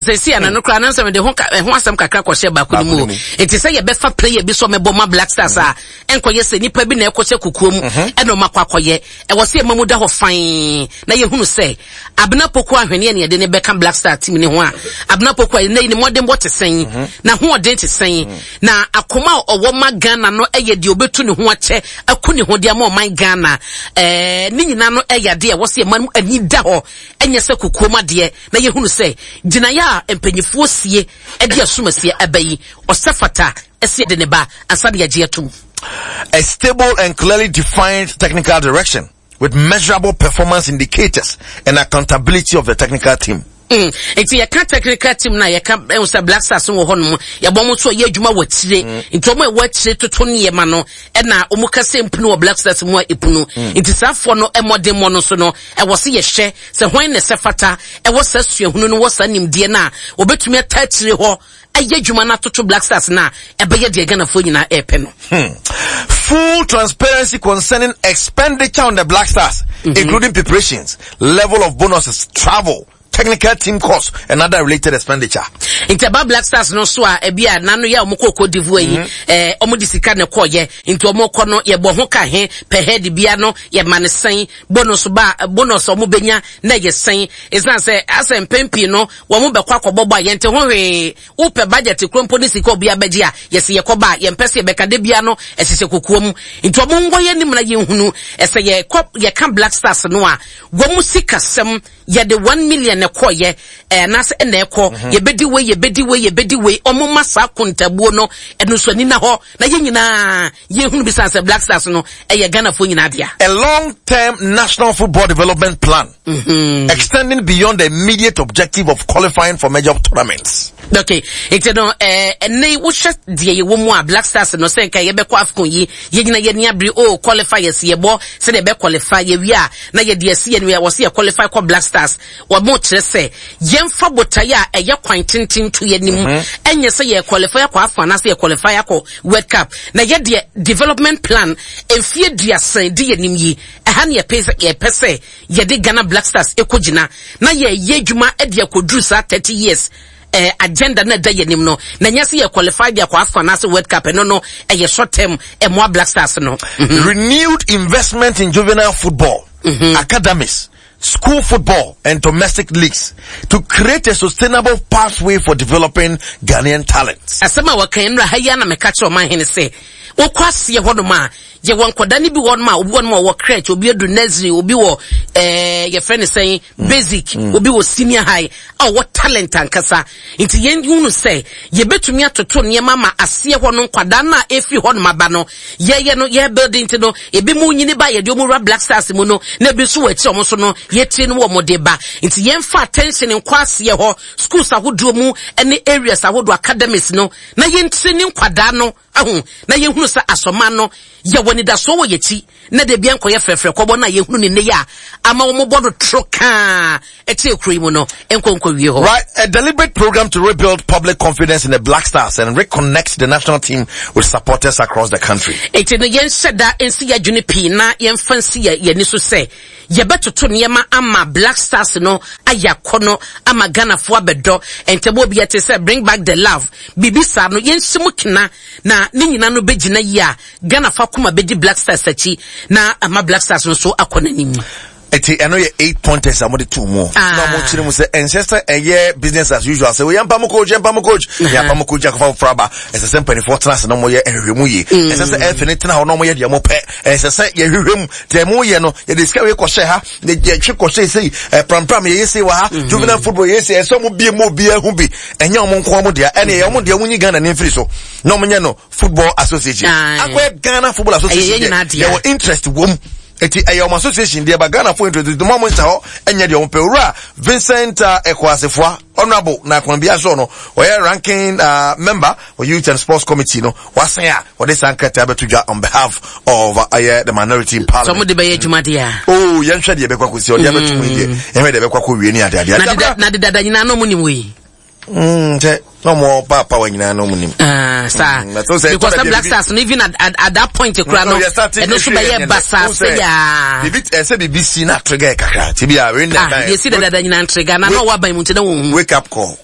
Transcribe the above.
sɛ si ana no koraa nansɛ mede ho ɛho asɛm kakra kɔhyɛ baako no mu o. Nti sɛ yɛbɛfa player bi sɛ ɔmɛbɔ ma Black Stars a, ɛnkɔyɛ sɛ nipa bi na ɛkɔhyɛ kukuo mu ɛna ɔma akɔ akɔyɛ. Ɛwɔ sɛ yɛma mu da hɔ fann na yɛhunu sɛ Abena Poku Ahweneɛ na yɛde no bɛka Black Star team no ho a, Abena Poku a nnɛ yi ne mmɔdenbɔ te sɛn, n'ahoɔden te sɛn, na akoma a ɔwɔ ma Ghana no yɛ deɛ ɔbɛtu ne ho akyɛ aku ne ho de ama ɔman Ghana. Ɛɛ, ne nyinaa no yɛ adeɛ a ɛwɔ sɛ yɛma no ani da hɔ, ɛnyɛ sɛ kokoam adeɛ, na yɛhunu sɛ gyinaeɛ a mpanyifoɔ sie de asumasie aba yi, ɔsɛ fata sɛ yɛde ne ba ansa na yɛagye atom. A stable and clearly defined technical direction with measurable performance indicators and accountability of the technical team. Mm. Nti yɛka technical team na yɛka ɛhu sɛ Black Stars wɔ hɔ nom yɛbɔ wɔn nso yɛ adwuma wɔ akyire mm. nti wɔn a ɛwɔ akyire toto nneɛma no ɛna wɔn kasa mpunu wɔ Black Stars mu a epunu mm. nti saa afoɔ no mmɔdenmmɔ no so no ɛwɔ se yɛhwɛ sɛ hwan na ɛsɛ fata ɛwɔ saa suahunu no wɔ saa nimdeɛ no a wɔbɛtumi ata akyire hɔ ayɛ adwuma no atoto Black Stars no a ɛbɛyɛ deɛ Ghanafoɔ nyinaa ɛrepɛ no. Hmm. Full transparency concerning expenditure on the Black Stars, mm -hmm. including preparations, level of bonuses, travel, technical team costs and other related expenditure. Nti ɛba Black Stars no so a ebi a nano yɛ a wɔn kɔ Cote d'Ivoire yi mm-hmm. ɛɛ wɔn de sika na ɛkɔ yɛ nti wɔn kɔ no yɛ bɔ ho ka he per head bia no yɛ ma ne sɛn bonus ba bonus wɔn benya na yɛ sɛn esan sɛ asɛ mpɛn pii no Wɔn bɛkɔ akɔbɔ bɔ a yɛnte ho hwee. Wopɛ budget koro mpo ne sika a obiara bɛgye a, yɛse yɛkɔba a, yɛmpɛ sɛ yɛbɛka. Da biara no, ɛhyehyɛ kokoa mu. Nti wɔn nkɔ yɛn anim na yɛnhunu. Sɛ yɛkɔ, yɛka Black Stars no a, wɔn sikasɛm, yɛde 1 million na ɛkɔeɛ, eh, anaasɛ ɛna ɛkɔ. Yɛbɛdi wei, yɛbɛdi wei, yɛbɛdi wei. Wɔn mma saa akontabuo no, ɛno nso ani nna hɔ. Na yɛn nyinaa yɛhunu bi sane sɛ Black Stars no, ɛyɛ Ghanafoɔ nyinaa dea. A long-term national football development plan mm-hmm. extending beyond the immediate objective of qualifying for major tournaments. Okay, nti no eh, ɛnɛ wohwɛ deɛ yɛwɔ mu a Black Stars no sɛ nka yɛbɛkɔ AFCON yi yɛnyina yɛni abere o oh, qualifiers yɛbɔ sɛdeɛ ɛbɛ qualify yɛwie a na yɛde asi yɛn wɔ sɛ yɛ qualify kɔ Black Stars Wɔkyerɛ sɛ yɛmfa botae a ɛyɛ kwan tenten nto yɛn anim, mhm. ɛnyɛ sɛ yɛ qualify akɔ AFCON anaasɛ yɛ qualify akɔ World Cup. Na yɛ deɛ development plan mfie duasa di yɛn anim yi, ɛha ne yɛpɛ sɛ yɛpɛ sɛ yɛde Ghana Black Stars ɛkɔgyina na yɛyɛ adwuma de akɔduru saa 30 years eh, agenda na ɛda yɛn anim no na nyɛ sɛ yɛ qualify de akɔ AFCON anaasɛ World Cup ɛno no ɛyɛ short term ɛmoa Black Stars no. Mm-hmm. Renewed investment in juvenile football mm-hmm. academies school football and domestic leagues to create a sustainable pathway for developing Ghanaian talents. Asɛm a wɔka nnura ha yi na meka kyerɛ ɔman hene sɛ wokɔ aseɛ hɔnom a yɛwɔ nkɔda no bi hɔnom a obi hɔnom a ɔwɔ crèche obi adu nursery obi wɔ ɛɛ yɛfrɛ no sɛn mm. basic mm. obi wɔ senior high a ɔwɔ talent ankasa nti yɛn hunu sɛ yɛbɛtumi atoto nneɛma ma aseɛ hɔ no nkwadaa no a ɛfiri hɔnom aba no Yɛyɛ no yɛ building nti no ebi mu nyini ba yɛde wɔn wura Black Stars mu no na ebi nso wɔ akyire wɔn nso no yɛtire no wɔn de ba nti yɛnfa attention nkɔ aseɛ hɔ schools ahodoɔ mu ne areas ahodoɔ academies no na yɛntire ne nkwadaa no ahu na yɛhunu sɛ asɔma no yɛwɔ anidasoɔ wɔ yɛkyi na de bia nkɔyɛ frɛfrɛ kɔbɔ no a yɛhunu ne nnɛ yi a ama wɔn bɔ no toro kaa ɛkyɛ kuro yi mu no nkɔ nkɔ wie hɔ. Right, a deliberate program to rebuild public confidence in the Black Stars and reconnect the national team with supporters across the country. Eti no yɛnhyɛ da nsi yɛ adwene pii na yɛmfa nsi yɛ yɛn ani so sɛ yɛbɛtoto nneɛma ama Black Stars no ayɛ akɔnɔ ama Ghanafoɔ abɛdɔ ntɛm obi ɛte sɛ bring back the love biribi saa no yɛnhyɛ mu kena na ne nyinaa no bɛgyina yie a Ghanafoɔ akoma bɛdi Black Stars akyi na ama Black Stars no nso akɔ n'anim. Eti ɛno yɛ eight pointers a wɔde to mu. Ah. Na wɔn kyerɛ mu sɛ ɛnsɛ sɛ ɛyɛ business as usual sɛ yɛn mpamu coach yɛn mpamu coach mm-hmm. yɛn mpamu coach akɔfa foforɔ aba ɛsɛ sɛ mpanimfoɔ tena ase na wɔn yɛ nhwehwɛ mu yie mm. ɛsɛ sɛ ɛfɛ ne tena hɔ na wɔn yɛ deɛ wɔn pɛ ɛsɛ sɛ yɛhwehwɛ mu deɛ wɔn yɛ no yɛde sika wei kɔhyɛ ha yɛtwe kɔhyɛ sei prampram yɛyɛ sei wɔ ha mm-hmm. juvenile football yɛyɛ sei ɛsɛ wɔn bie mu obiara ho bi ɛnyɛ wɔn nko wɔn deɛ ɛne ɛyɛ wɔn deɛ wɔn nyi Ghana ne mfiri so na wɔn nyɛ no football association akɔyɛ Ghana football association deɛ yɛwɔ interest wɔm Eti ɛyɛ wɔn association deɛ ba Ghana fo interest nti mo a mo nhyɛ hɔ nyɛ deɛ wɔn pɛ. Owura Vincent uh, Ekoasefoa, honourable na kwan bi aso no, ɔyɛ ranking uh, member wɔ Youth and Sports Committee no, wasan a wɔde saa nkrataa bɛto dwa on behalf of uh, ɛyɛ the minority in parliament. Sɛ wɔn de bɛyɛ adwuma deɛ a. Oh, yɛnhwɛ deɛ ɛbɛkɔ akɔsi, ɔde abɛto mu deɛ, yɛnhwɛ deɛ ɛbɛkɔ akɔ wie ne adeadeɛ. Na de dada nyinaa na wɔn nim wei. Sɛ na ɔmo paapa wa nyinaa na ɔmo nim. Ah, saa mm, because the Black Stars no even at, at, at that point kura no ɛno nso bɛyɛ basaa sɛ yaa. Bibi ɛsɛ bibi si na trigger kakra ti bi a wei na ɛdan. Ah yɛsi dadada nyinaa trigger na na ɔwɔ aban mu nti na wɔn hu. Wake up call.